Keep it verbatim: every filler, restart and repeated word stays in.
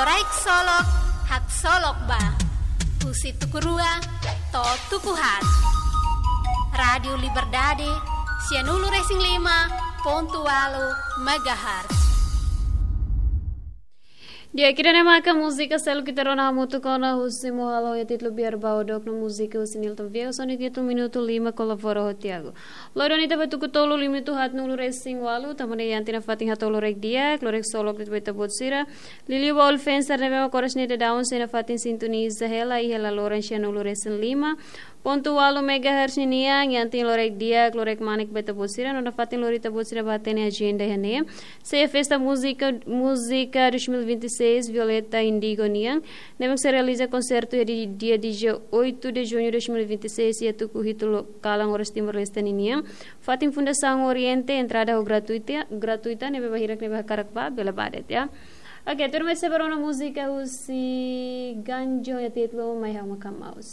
Loraik Solok, Haksolok Ba. Husi tuku rua to'o tuku haat. Rádiu Liberdade, sianulu-resin-lima pontu ualu megahertz. Di'ak, ida-ne'e maka múzika seluk ita rona hamutuk ona husi Mohalo iha títulu Biar Bau Dok no múzika husi Nilton Viegas ho nia títulu Minutu Lima, kolabora ho Tiago. Loron ita ba tuku tolu, limite haatnulu-resin-ualu, tanba ne'e iha tiha ona fatin hato'o loraik di'ak, loraik solok de'it ba ita-boot sira. Liuliu ba Ulfensar ne'ebé mak oras ne'e daudaun sei nafatin sintoniza hela iha laloran sianulu-resin-lima pontu ualu megahertz ninian, iha tiha ona loraik di'ak, loraik manek ba ita-boot sira, no nafatin lori ita-boot sira ba hatene ajenda iha ne'e. Sei iha festa múzika, múzika dois mil e vinte e seis, Violeta Indigo nian. Ne'ebé sei realiza konsertu iha di-, dia dezoito de junho de dois mil e vinte e seis, iha tuku hitu lo-, kalan oras Timor-Leste ninian. Fatin Fundasaun Oriente, entrada ho gratuita, gratuita, ne'ebé ba hirak ne'ebé hakarak ba, bele ba de'it, ya. Oke, tuirmai sei ba rona múzika husi Ganjo iha títulu Mai Ha'u Maka'as Maus.